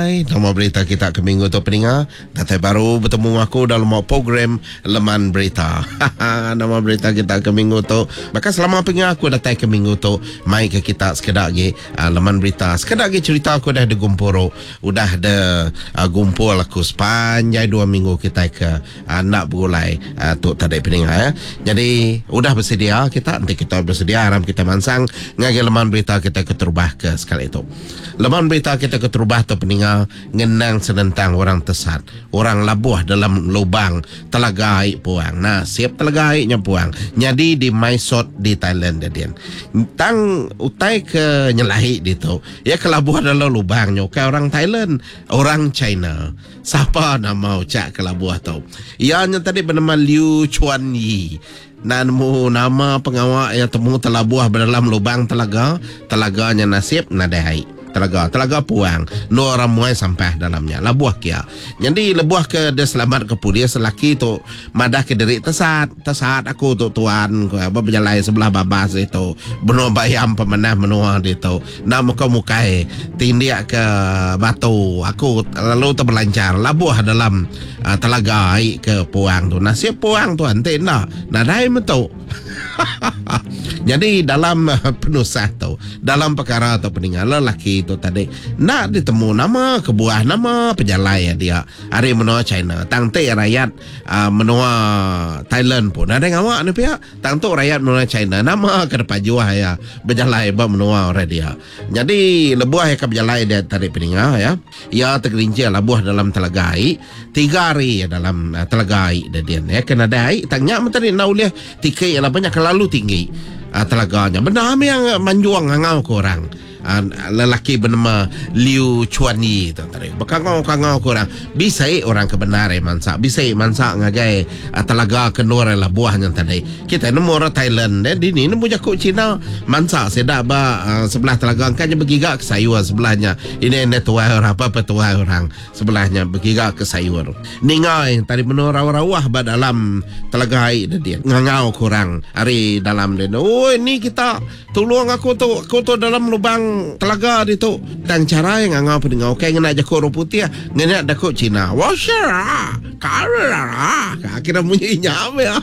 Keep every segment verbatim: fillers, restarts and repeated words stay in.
Hai, nama berita kita ke minggu tu peninga? Datai baru betemu aku dalam program Leman Berita. Nama berita kita ke minggu tu. Maka selama penginga aku datai ke minggu tu, mai ke kita sekedak lagi uh, Leman Berita. Sekedak lagi cerita aku dah digumpul. Udah de uh, gumpul aku sepanjang dua minggu kita ke uh, nak bergulai uh, tu tadi peninga ya. Jadi udah bersedia kita, nanti kita bersedia aram kita mansang ngagai Leman Berita kita keterubah ke sekali itu. Leman Berita kita keterubah tu peninga ngenang senentang orang tesat, orang labuh dalam lubang telaga air puang. Nah, siap telaga airnya puang. Jadi di Mae Sot di Thailand dia. Tang utai ke nyelahi di tu. Ya kelabuh dalam lubang nyo ke orang Thailand, orang China. Siapa nama ucak kelabuh tu? Ia nya tadi bernama Liu Chuan Yi. Nemu nama pengawak yang temu telabuh dalam lubang telaga, telaganya nasib nadai air. Telaga, telaga puang, no orang muai sampah dalamnya. Labuh kia. Jadi lebuh ke dia selamat ke polis lelaki tu madah ke diri tesat, tesat aku tu tuan, ku apa berjalan sebelah babas itu. Benua bayam pemenah menua dia tu. Nak muka mukai tindik ke batu, aku lalu terbelancar labuh dalam uh, telaga air ke puang tu. Nasib puang tu ante nak nadai mentuk. Jadi dalam uh, penusah tu, dalam perkara tu peninggal lelaki tu tadi nak ditemu nama kebuah nama pejalai dia hari menua China. Tang te rakyat uh, menua Thailand pun ada ngawak ni pihak. Tang tu rakyat menua China nama ke depan juah ya berjalai ba menua orang dia. Jadi lebuah yang ke berjalai dia tadi peninggal ya. Ia tergelincir labuh dalam telaga air tiga hari ya dalam uh, telaga air dia dia ya kena ada air tanya tadi nak ulih tikai lah banyak terlalu tinggi uh, telaganya. Benar yang manjuang ngangau ke orang. Uh, lelaki bernama Liu Chuan Yi tu tadi. Bekangau-kangau ke orang. Bisa orang kebenar eh mansak. Bisa mansak ngagai uh, telaga kenur lah buahnya tadi. Kita nemu orang Thailand eh di ni nemu jakuk Cina mansak sedak ba uh, sebelah telaga angkanya bergiga ke sayur sebelahnya. Ini ini tuai orang apa apa tuai orang sebelahnya bergiga ke sayur. Ningai tadi menurau rawah ba dalam telaga air dia. Ngangau kurang hari dalam dia. Oi ni kita tolong aku tu aku tu dalam lubang telaga dia tu. Dan cara yang ngangau pendengar okey ngena jakuk orang putih ngena jakuk Cina. Washa kara kira bunyi nyam ya.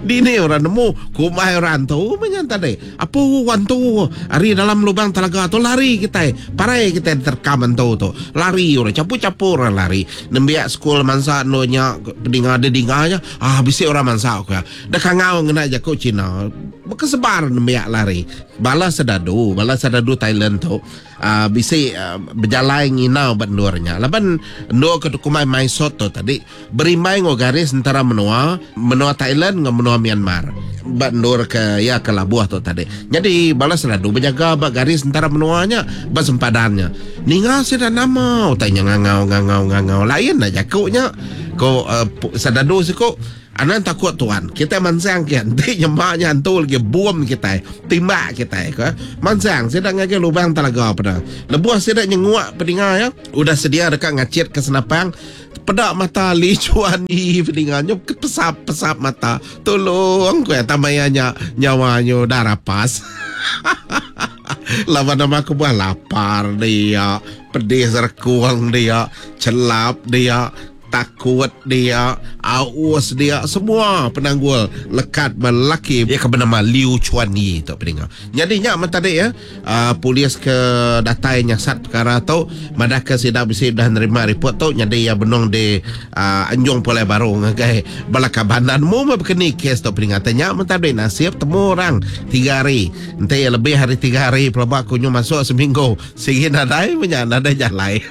Dini orang nemu kumai orang tu menyan tadi. Apa wan tu hari dalam lubang telaga tu lari kita. Parai kita terkam tu tu. Lari orang capu-capu orang lari. Nembiak sekolah mansa no nya pendengar ada dinganya. Ah bisi orang mansa aku. Dah kangau ngena jakuk Cina. Berkesebar nembiak lari. Bala sedadu, bala sedadu Thailand tu uh, bisi uh, berjalan nginau bandurnya. Laban ndor ke kumai Mae Sot tu tadi berimbai ngo garis antara menua, menua Thailand dengan menua Myanmar. Bandur ke ya ke labuh tu tadi. Jadi bala sedadu berjaga bak garis antara menuanya, bak sempadannya. Ninga sida nama tanya ngangau ngangau ngangau lain dah jakuknya. Ko uh, sedadu siko anan takut tuan. Kita mansang ke nanti nyemaknya hantu lagi bom kita, timbak kita ke. Mansang sedang ngage lubang telaga pada. Lebuh sedang nyenguak pendengar ya. Udah sedia dekat ngacit ke senapang. Pedak mata Li Chuan Yi pendengarnya pesap-pesap mata. Tolong ku ya tamayanya nyawanya dah rapas. Lawan nama aku buah lapar dia, pedih serkuang dia, celap dia, takut dia, aus dia, semua penanggul lekat lelaki dia ke bernama Liu Chuan Yi tu pendengar. Jadinya amat tadi ya, uh, polis ke datai nyasat perkara tu, madah ke sidap bisi dah nerima report tu, jadi ya benung di uh, Anjung Pulai Baru ngagai balakabanan mu berkeni kes tu pendengar. Tanya amat tadi nasib temu orang tiga hari. Nanti lebih hari tiga hari pelabak kunyu masuk seminggu. Sehingga nadai punya nadai jalai.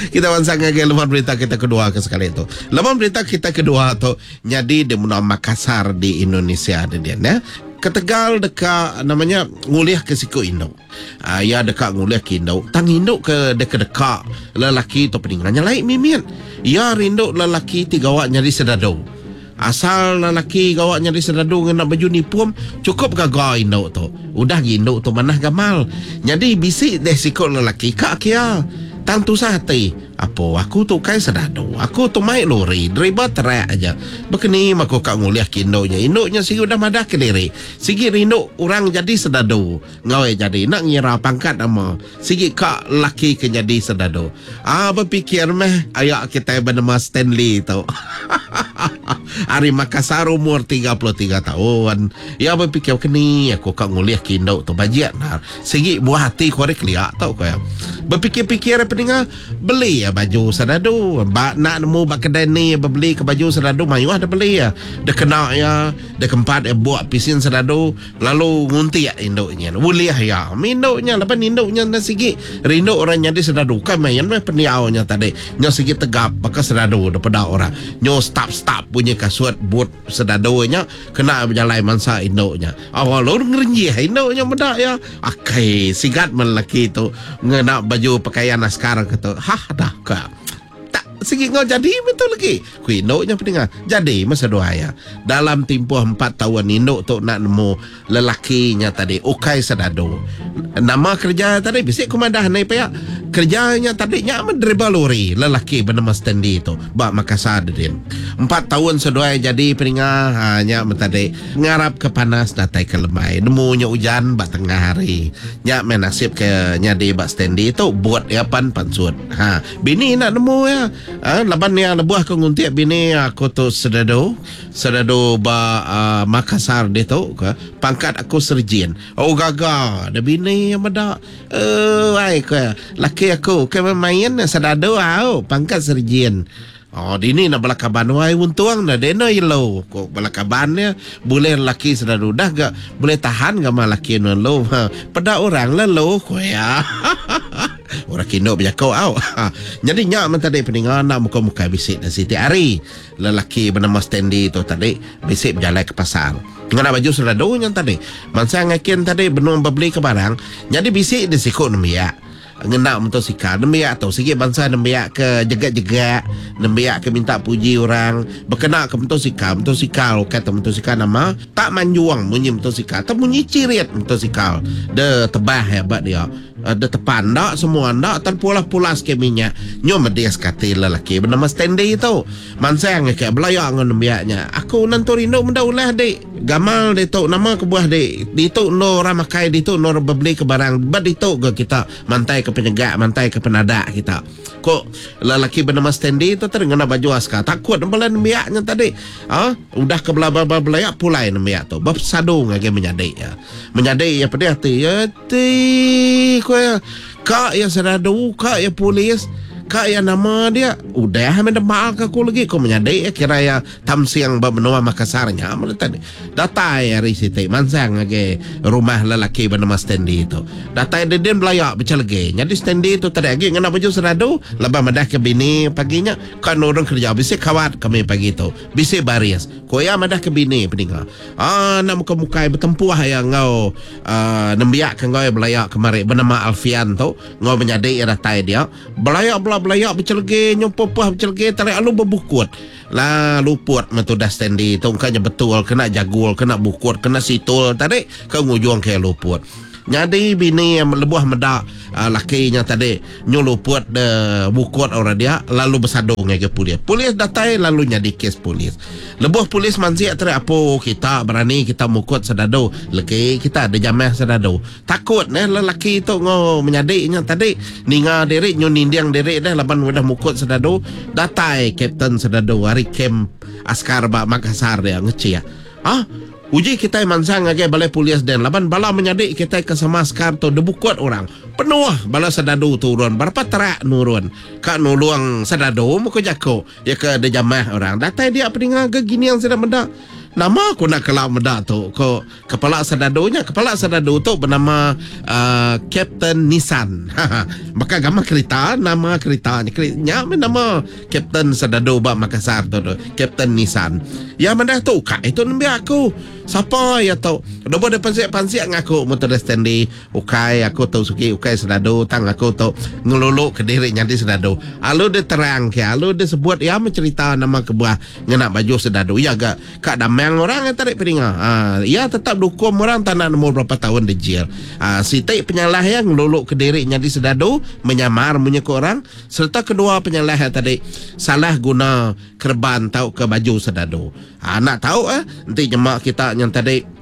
Kita wansang ke lembar berita kita kedua ke sekali itu. Lembar berita kita kedua tu jadi di Menua Makassar di Indonesia dia ya. Ketegal dekat namanya ngulih ke siku induk. Ah ya dekat ngulih ke induk. Tang induk ke dekat-dekat lelaki tu peninggalnya lain mimit. Ya rinduk lelaki tiga awak nyari sedadu. Asal lelaki gawak nyari sedadu ngena baju nipum cukup gagah induk tu. Udah induk tu manah gamal. Jadi bisik deh sikut lelaki kak kia. Tang tusah hati. Apo aku tu kai sedadu. Aku tu mai lori, driver truk aja. Bekeni aku ka ngulih ke indunya. Indunya sigi udah madah ke diri. Sigi rindu orang jadi sedadu. Ngau jadi nak ngira pangkat nama. Sigi ka laki ke jadi sedadu. Ah berfikir meh ayak kita bernama Stanley tu. Ari Makassar umur tiga puluh tiga tahun. Ya berfikir keni aku ka ngulih ke induk tu bajiak nar. Sigi buah hati ku ari keliak tau ko ya. Berfikir-fikir peninga beli ya baju sedadu. Ba nak nemu ba kedai ni beli ke baju sedadu mayuh dah beli ya. Dia kena ya, dia keempat ya buat pisin sedadu lalu nguntik induknya. Boleh ya. Induknya laban induknya dah sigi rindu orang jadi sedadu. Kan main meh pendiaunya tadi. Nyo sigi tegap baka sedadu daripada orang. Nyo stop-stop punya kasut boot sedadunya kena berjalan mangsa induknya. Awal lu ngerenjih induknya medak ya. Akai sigat melaki tu ngena baju pakaian askar kata. Hah dah ka. Tak sigi ngau jadi betul lagi. Ku induknya pendengar. Jadi masa dua ya. Dalam tempoh empat tahun induk tu nak nemu lelakinya tadi ukai sedadu. Nama kerja tadi bisik kumadah ni pihak. Kerjanya tadi nya driver lori lelaki bernama Stanley tu bak Makassar din. Empat tahun seduai jadi pendengar hanya tadi ngarap ke panas datai ke lemai. Nemunya hujan bak tengah hari. Nya main nasib ke nyadi bak Stanley tu buat ya pan pansut. Ha bini nak nemu ya. Ha, laban ya lebuh aku nguntik bini aku tu sedadu sedadu ba uh, Makassar dia tu ke pangkat aku serjin. Oh gaga ada bini yang medak. Eh ai ke laki aku ke main sedadu au pangkat serjin. Oh dini nak belakaban wai untung dah dena yellow kok belakaban dia boleh laki sedadu dah gak boleh tahan gak mah laki non lo. Ha, pada orang lelo ko ya. Orang kino berjakau au. Jadi nyak men tadi peningan nak muka-muka bisik dan Siti Ari. Lelaki bernama Stanley tu tadi bisik berjalan ke pasar. Ngena baju sedadu yang tadi. Mangsa ngakin tadi benung beli ke barang. Jadi bisik di sikut nembiak. Ngena motosikal nembiak tu sikit bangsa nembiak ke jegak-jegak nembiak ke minta puji orang berkena ke motosikal motosikal kata motosikal nama tak manjuang bunyi motosikal tak bunyi cirit motosikal de tebah hebat dia de tepan dak semua dak tan pulas-pulas ke minyak nyo medias kati lelaki bernama Stanley tu mansang ke belayak dengan nembiaknya aku nanti rindu menda ulah dik gamal dia tu nama kebuah dik ditu no orang makai ditu no beli ke barang bad ditu ke kita mantai ke penyegak mantai ke penadak kita kok lelaki bernama Stanley tu tadi ngena baju askar takut bala nembiaknya tadi ha udah ke bela-bela belayak pulai nembiak tu bersadu ngagi menyadik ya menyadik ya pedih hati ya ti ko ya kak ya seradu kak ya polis kak ya nama dia udah minta maaf ke aku lagi ko menyadik ya kira ya tamsiang ba menua Makassarnya tadi datai hari siti mansang lagi rumah lelaki bernama Stanley tu datai dia dia belayak baca lagi jadi Stanley tu tadi lagi ngena baju seradu lepas madah ke bini paginya kan orang kerja bisik kawat kami pagi tu bisik baris ko ya madah ke bini peninga ah nak muka-muka bertempuh ya ngau uh, nembiak ke ngau belayak kemari bernama Alfian tu ngau menyadik ya datai dia belayak bela belayak bercelege nyumpah bercelege tarik alu berbukut lah luput metu dah Stanley tu kanya betul kena jagul kena bukut kena situl tarik ke ngujung ke luput. Jadi bini yang lebuh medak uh, lakinya tadi nyuluput de bukut orang dia lalu bersadung ke polis. Polis datai lalu nyadi kes polis. Lebuh polis manzik tadi apa kita berani kita mukut sedadu. Leki kita ada jamah sedadu. Takut neh lelaki tu ngo menyadiknya tadi ninga diri nyu ninding diri dah laban udah mukut sedadu. Datai kapten sedadu hari kem askar bak Makassar dia ngeciah. Ah uji kita mansang ngagai balai polis dan laban bala menyadik kita ke sama askar tu debukut orang penuh bala sedadu turun berapa terak nurun kak nuluang sedadu muka jako ya ke de jamah orang datai dia peninga ke gini yang sedang mendak nama aku nak kelak mendak tu ko kepala sedadunya kepala sedadu tu bernama uh, Kapten Nissan. Maka gambar kereta nama kereta ni nya nama Kapten sedadu bak Makassar tu tu Kapten Nissan ya mendak tu kak itu nembiak aku Sapa ya tu? Lebuh dia pansik-pansik ngaku motor Stanley, ukai aku tu suki ukai sedadu, tang aku tu ngelulu ke diri nyadi sedadu. Alu dia terang ke, alu dia sebut ya mencerita nama kebuah ngena baju sedadu. Ya ga kak damang orang yang tarik peninga. Ha, ya tetap dukung orang tak nak nemu berapa tahun di jail. Ha, sitik penyalah yang ngelulu ke diri nyadi sedadu, menyamar menyekut orang, serta kedua penyalah yang tadi salah guna kerban tau ke baju sedadu. Ha, nak tahu eh nanti nyemak kita yang tadi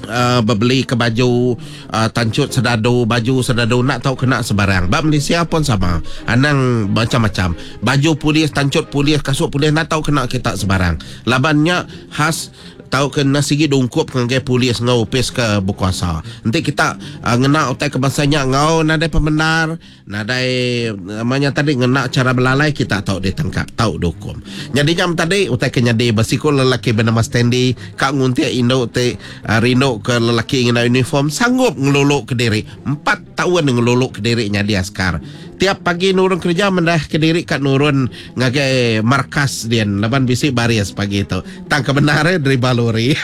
Uh, berbeli ke baju uh, tancut sedadu, baju sedadu nak tahu kena sebarang. Bab Malaysia pun sama. Anang macam-macam. Baju polis, tancut polis, kasut polis nak tahu kena kita sebarang. Labannya khas tahu kena sigi dungkup ngagai polis ngau upis ke berkuasa. Nanti kita uh, ngena utai kebangsanya ngau nadai pembenar, nadai namanya tadi ngena cara belalai kita tahu ditangkap, tahu dihukum. Jadi jam tadi utai ke nyadi bersikul lelaki bernama Stanley kak nguntik induk te uh, rindu ke lelaki ngena uniform sanggup ngeluluk ke diri. Empat tahun ngeluluk ke diri nyadi askar. Tiap pagi nurun kerja mendah ke diri kat nurun ngagai markas dia laban bisi baris pagi tu. Tang kebenaran dari baluri.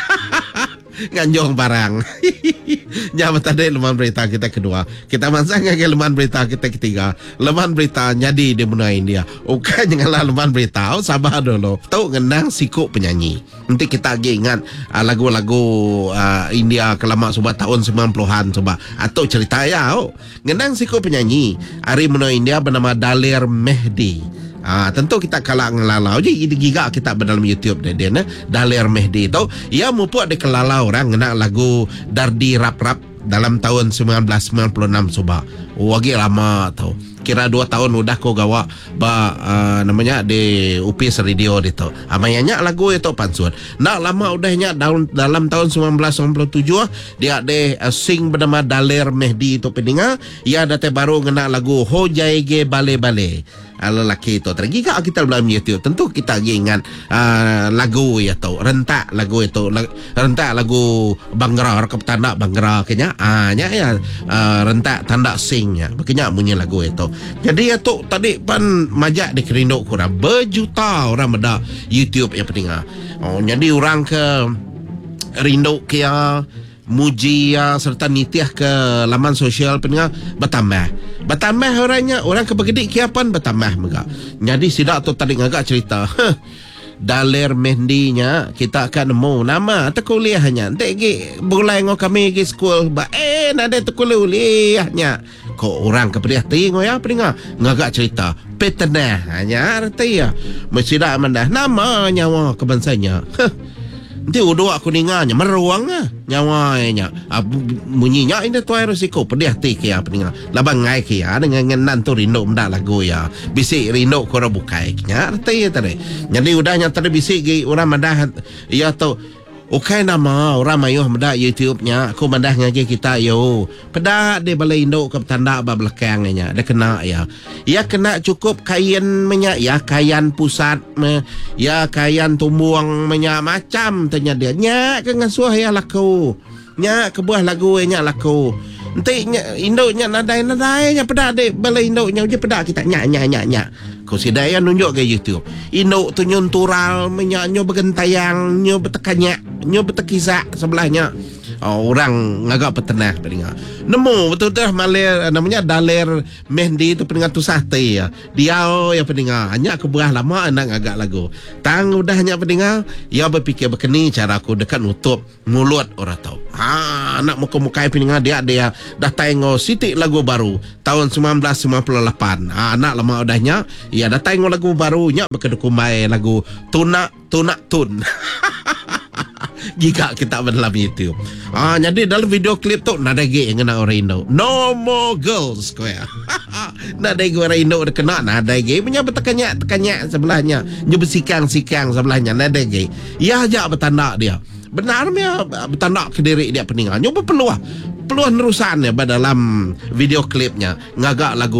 Nganjung barang. Nya tadi leman berita kita kedua. Kita mansang ngagai leman berita kita ketiga. Leman berita nyadi di benua India. Bukan janganlah leman berita. Oh, sabar dulu. Tahu ngenang sikuk penyanyi. Nanti kita lagi ingat uh, lagu-lagu uh, India kelama suba tahun sembilan puluhan suba. Atau cerita ya. Oh. Ngenang sikuk penyanyi ari benua India bernama Daler Mehdi. Ah, tentu kita kalah ngelalau je giga kita berdalam YouTube dia dia ne Daler Mehdi tu ia mupuk di kelala orang ngena lagu Dardi Rap Rap dalam tahun sembilan belas sembilan puluh enam suba. Oh, lagi lama tau. Kira dua tahun udah ko gawa ba uh, namanya di Upis Radio itu. Amayanya lagu itu pansut. Nak lama udahnya dalam, dalam tahun sembilan belas sembilan puluh tujuh dia ada uh, sing bernama Daler Mehdi itu peninga ia ada baru ngena lagu Ho Jaege Bale Bale. Lelaki itu tergiga kita dalam YouTube tentu kita lagi ingat uh, lagu ya tu rentak lagu itu rentak lagu Bhangra ke tanda Bhangra kenya ah nya ya uh, rentak tanda singnya begenya bunyi lagu itu. Jadi ya tu tadi pan majak dikerinduk kurang berjuta orang meda YouTube yang peninga. Oh, jadi orang ke rindu ke ya muji ya serta nitiah ke laman sosial peninga bertambah. Bertambah orangnya, orang ke bergedik kiapan bertambah mega. Jadi sidak tu tadi ngagak cerita. Huh. Daler Mehdi-nya kita akan nemu nama atau kuliahnya. Nanti gi berulai ngau kami gi school ba eh nada tu kuliahnya. Kok orang ke pedih hati ngau ya peninga ngagak cerita petenah hanya arti ya. Mesti dak mandah nama nyawa kebangsanya. Huh. Nanti udah aku ninganya meruang ah nyawa nya. Ah, bunyinya ini tuai risiko pedih hati ke ya peninga. Labang ngai ke ya dengan ngenan tu rindu mendak lagu ya. Bisik rindu ko orang bukai nya arti ya tadi. Jadi udahnya tadi bisik gi orang madah ya tu ukai nama orang mayuh mendak YouTube-nya aku madah ngaji kita yo. Pedak dia balai induk ke tanda ba belakang nya dia kena ya. Ya kena cukup kain minyak ya kain pusat me, ya kain tumbuang minyak macam tanya dia. Nya ke ngasuh ya laku. Nya ke buah lagu nya laku. Enti nya induknya nadai-nadai nya pedak dia balai induknya je pedak kita nya nya nya nya. Ko sidaya nunjuk ke YouTube. Induk tu nyuntural minyak nyo bergentayang nyo bertekanya nyo bertekisak sebelahnya. Oh, orang ngagak petenah peninga. Nemu betul-betul malir namanya Daler Mehdi tu peninga tu sate ya. Dia ya peninga. Hanya aku berah lama nak ngagak lagu. Tang udahnya peninga, ia berfikir berkeni cara aku dekat nutup mulut orang tahu. Ha, nak muka-muka peninga dia dia dah tengok sitik lagu baru tahun sembilan belas sembilan puluh lapan. Ha, nak lama udahnya ia dah tengok lagu baru nya berkedukumai lagu Tunak Tunak Tun. Jika kita dalam YouTube. Ah, jadi dalam video klip tu nada ge yang kena orang Indo. No more girls square. Nada ge orang Indo dah kena nada ge punya bertekanya tekanya sebelahnya. Nyu bersikang-sikang sebelahnya nada ge. Ya ajak bertanda dia. Benar mia bertanda ke diri dia peningan. Nyu berpeluah. Peluah nerusan ya dalam video klipnya ngagak lagu